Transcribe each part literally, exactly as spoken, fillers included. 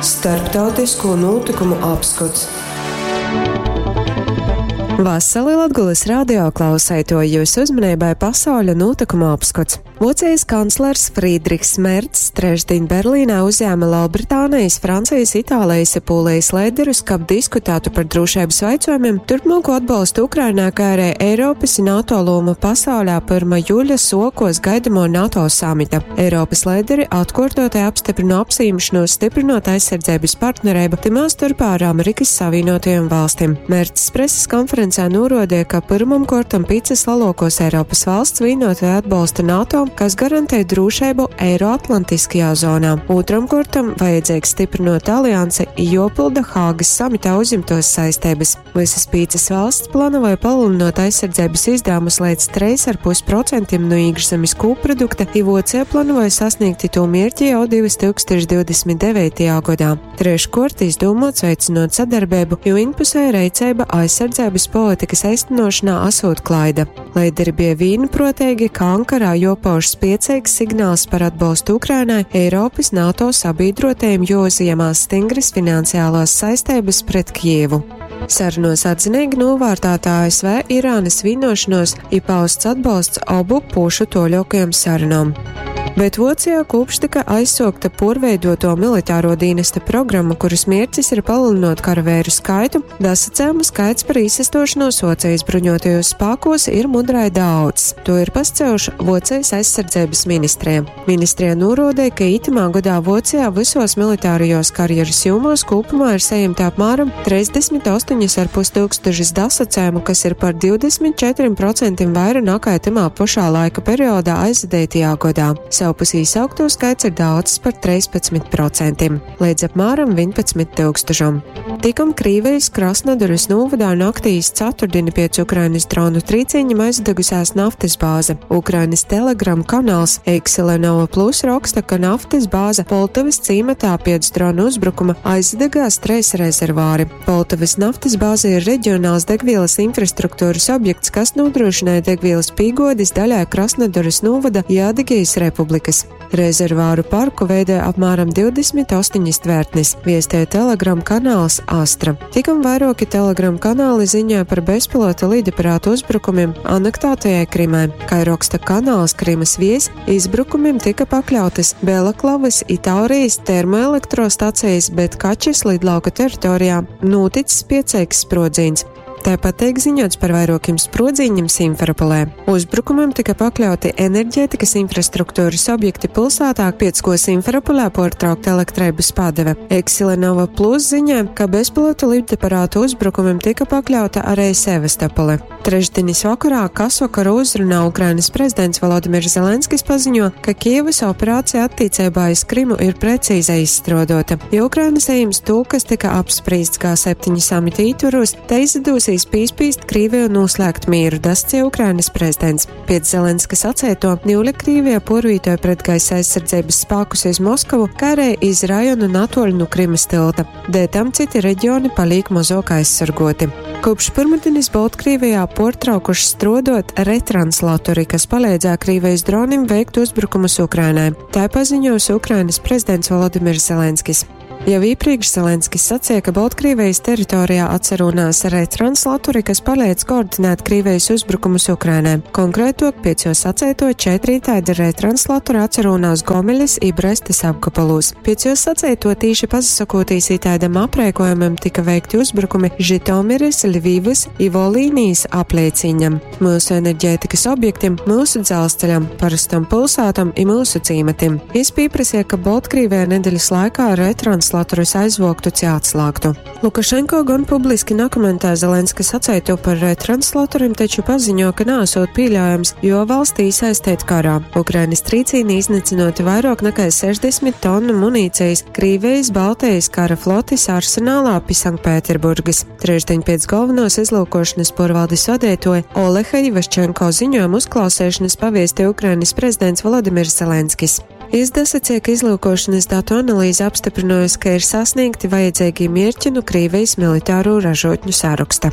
Starptautisko notikumu apskots. Vasali Latgulas radio klauseitoji, jūsu uzmanībai pasauļa notikuma apskots. Vocijas kanclers Frīdrihs Mercs trešdiņ Berlīnā uzņēma Lielbritānijas, Francijas, Itālijas un Polijas līderus, kab diskutētu par drošības jautājumiem, turpmāko atbalstu Ukrainā, kā arī Eiropas un NATO lomu pasaulē pirmā jūļa sokos gaidamo NATO samita. Eiropas līderi atkārtotai apstiprina apsīmšanos stiprinot aizsardzības partnerību, timā starpā ar Amerikas Savienotajām valstīm. Mercs preses konferencē norādīja, ka pirmam kortam picas lielākos Eiropas valsts vienotai atbalsta NATO, kas garantē drošību Eiroatlantiskajā zonā. Otram kortam vajadzīgs stiprinot aliansi, jopilda Hāgas samitā uzņemtos saistības. Visas pīcas valsts plānoja palielinot aizsardzības izdevumus līdz trīs ar pus procentiem no iekšzemes koprodukta, i Vocija plānoja sasniegt to mērķi jau divtūkstoš divdesmit devītajā gadā. Treškort izdomāts veicinot sadarbību, jo vienpusēja reiceiba aizsardzības politikas īstenošanā esot klaida. Līderi bija vienprātīgi, ka Ankarā jopauž spiecīgs signāls par atbalstu Ukrainai, Eiropas NATO sabiedrotajiem jāuzņemās stingras finansiālās saistības pret Kijevu. Sarunos atzinīgi novērtēta A S V Irānas vienošanos i pausts atbalsts abu pušu toļokajam sarunām. Bet Vocijā kopš tika aizsokta porveidoto militāro dienesta programma, kuras mērķis ir palielinot karavēru skaitu, dasacējumu skaits par īsastošanos Vocijas bruņotajos spēkos ir mudrai daudz. To ir pascējuši Vocijas aizsardzības ministrija. Ministrija norādīja, ka itamā gadā Vocijā visos militārajos karjeras jomos kopumā ir saņemta apmēram trīsdesmit astoņi ar pus tūkstošus dasacējumu, kas ir par divdesmit četriem procentiem vairāk nekā tamā pašā laika periodā aizvadītajā gadā. Savpus īsaukto skaits ir daudz par trīspadsmit procentiem, līdz apmēram vienpadsmit tūkstošam. Tikom Krīvijas Krasnodaras novadā naktī iz ceturtdienu pēc Ukrainas dronu trīciņam aizdegusies naftas bāze. Ukrainas Telegram kanāls Eksilenova Plus raksta, ka naftas bāze Poltavas cīmatā pēc dronu uzbrukuma aizdegās treis rezervāri. Poltavas naftas bāze ir reģionāls degvielas infrastruktūras objekts, kas nodrošināja degvielas pīgodis daļai Krasnodaras novada Jādigijas republikas. Rezervāru parku veidē apmēram divdesmit astoņas tvērtnes, viestē Telegram kanāls Astra. Tikam vairāki Telegram kanāli ziņoja par bezpilota lidaparātu uzbrukumiem anektētajai Krimai. Kā raksta kanāls Krimas vies, izbrukumiem tika pakļautas Belaklavas i Taurijas termoelektrostacijas, bet Kačes lidlauka teritorijā noticis pieceiks sprodziens. Tāpat tiek ziņots par vairākiem sprodziņiem Simferopolē. Uzbrukumam tika pakļauti enerģētikas infrastruktūras objekti pilsētā, piec ko Simferopolē pārtraukta elektrības padeve. Eksilenova Plus ziņā, ka bezpilota lidaparātu uzbrukumam tika pakļauta arī Sevastopole. Trešdienas vakarā kasvakara uzrunā Ukrainas prezidents Volodimirs Zelenskis paziņo, ka Kijevas operācija attiecībā iz Krimu ir precīzi izstrādota. Ja Ukraina saņems to, kas tika apspriests G septiņi samita ietvaros, te izdosies pīspīst Krīviju noslēgt mieru, dascie Ukrainas prezidents. Pēc Zelenska sacēto, Niule Krīvija porvītoja pret gaisa aizsardzības spēkus iz Moskavu, kā arī iz rajonu natoļu no Krimas tilta. Dēļ tam citi reģioni paliek mazāk aizsargoti. Kopš pirmdienas Baltkrievijā portraukuši strodot retranslatori, kas palīdzēja Krievijas dronim veikt uzbrukumus Ukrainai. Tā paziņos Ukrainas prezidents Volodimirs Zelenskis. Jau iepriekš Zelenskis sacīja, ka Baltkrievijas teritorijā atcerunās retranslatori, kas palīdz koordinēt Krievijas uzbrukumus Ukrainai. Konkrētāk, pēc jo sacēto četri tādi retranslatori atcerunās Gomeļas i Brestas apgabalos. Pēc jo sacēto tīši pasakotīs itādam aprēkojumam tika veikti uzbrukumi Žitomiras, Ļvivas i Volīnijas aplieciņam, mūsu enerģētikas objektiem, mūsu dzelzceļam, parastam pilsētam i mūsu cīmatim. Jis pieprasīja, ka Baltkrievijā nedēļas laikā retranslatorus aizvoktu ci atslāgtu. Lukašenko gan publiski nekomentē Zelenska sacēto par retranslatoriem, taču paziņo, ka nāsot pieļaujams, jo valstī iesaistīt karā. Ukrainas trīcīni iznīcinoti vairāk nekā sešdesmit tonu munīcijas Krīvijas Baltijas kara flotis arsenālā pie Sanktpēterburgas. Trešdien pēc galvenos izlūkošanas porvaldes vadītoja Oleha Ivaščenko ziņojumu uzklausīšanas paviesti Ukrainas prezidents Volodimirs Zelenskis. Izdasacīja, ka izlūkošanas datu analīze apstiprinājusi, ka ir sasniegti vajadzīgie mērķi no Krīvijas militāro ražotņu saraksta.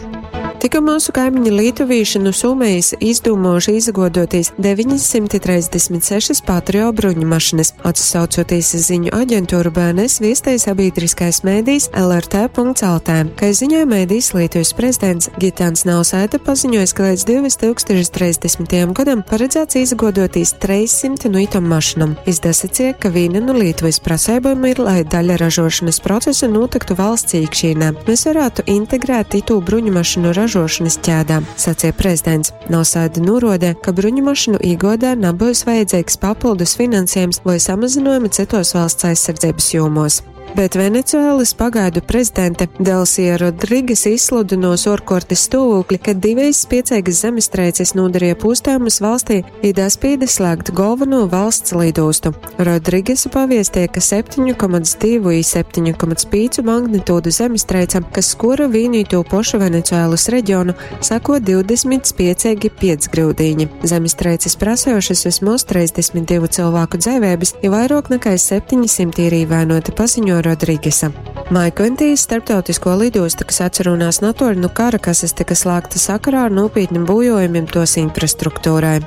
Tikko mūsu kaimiņi lietuvīši no Somijas izdūmojuši izagodotīs deviņsimt trīsdesmit sešas Patrio bruņu mašinas. Atsaucoties uz ziņu aģentūru B N S viestēja sabiedriskais mēdījis L R T punkts L T. Kā ziņoja mēdījis, Lietuvas prezidents Gitans Nausēda paziņoja, ka līdz divtūkstoš trīsdesmitajam gadam paredzēts izagodotīs trīssimt no itom mašinam. Izdasacīja, ka viena no Lietuvas prasībām ir, lai daļa ražošanas procesa notiktu valsts iekšienē. Mēs varētu integrēt itu bruņu mašinu ražošanas ķēdā, sacīja prezidents. Nausēda norādīja, ka bruņu mašinu īgodā nebūs vajadzīgs papildus finansējums vai samazinājumi citos valsts aizsardzības jomos. Bet Venecuēlas pagaidu prezidente Delsija Rodriges izsludinos orkortes stāvokli, kad divas spiecīgas zemestrīces nodarīja pūstājumus valstī, ir spīde slēgt galveno valsts lidostu. Rodrigesa paviestīja, ka septiņu komats divu i septiņu komats pīcu magnitūdu zemestrīce, kas skora vienīto pošu Venecuēlas reģionu, sako divdesmit spiecīgi piecgrūdīņi. Zemestrīces prasējušas vismaz trīsdesmit divu cilvēku dzīvības, ja vairāk nekā septiņsimt ir ievainoti, paziņo Rodrigesa. Maikventijas starptautisko lidostu, kas atcerunās natoļu no Karakasas, tika slēgta sakarā ar nopietniem bojojumiem tos infrastruktūrai.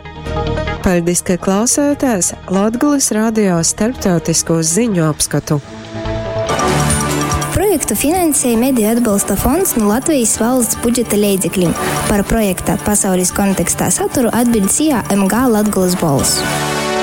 Paldies, ka klausāties Latgulas radio starptautisko ziņu apskatu. Projektu finansēja Mediju atbalsta fonds no Latvijas valsts budžeta leidzekļiem. Par projekta pasaules kontekstā saturu atbild S I A M G Latgulas bols.